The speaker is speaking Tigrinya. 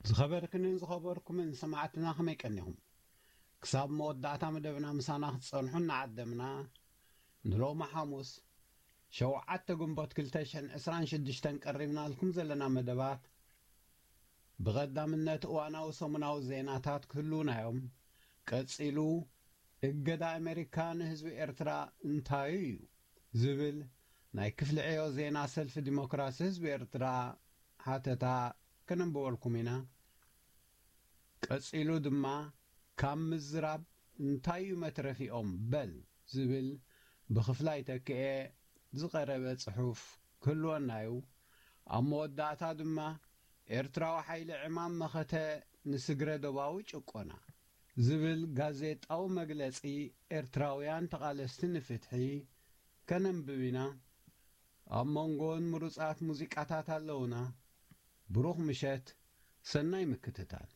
ዝኸበርክንን ዝኸበርኩምን ሰማዕትና ከመይ ቀኒኹም? ክሳብ መወዳእታ መደብና ምሳና ክትጸንሑ እናዓደምና፣ ንሎሚ ሓሙስ ሸውዓተ ግንቦት ክልተ ሽሕን ዕስራን ሽዱሽተን ቀሪብናልኩም ዘለና መደባት፣ ብቐዳምነት እዋናዊ ሰሙናዊ ዜናታት ክህልዉና እዮም። ቀጺሉ፣ እገዳ ኣሜሪካ ንህዝቢ ኤርትራ እንታይ እዩ? ዝብል ናይ ክፍሊ ዕዮ ዜና ሰልፊ ዲሞክራሲ ህዝቢ ኤርትራ ሓተታ ከነንብበልኩም ኢና። ቀጺሉ ድማ፣ ካብ ምዝራብ እንታይ እዩ መትረፊኦም በል ዝብል ብክፍላይ ተክኤ ዝቐረበ ጽሑፍ ክህልወና እዩ። ኣብ መወዳእታ ድማ፣ ኤርትራዊ ሓይሊ ዕማም መኸተ ንስግረ ዶባዊ ጭቆና ዝብል ጋዜጣዊ መግለጺ ኤርትራውያን ተቓለስቲ ንፍትሒ ከነንብብ ኢና። ኣብ መንጎን ምሩጻት ሙዚቃታት ኣለውና። ብሩኽ ምሸት፣ ሰናይ ምክትታል።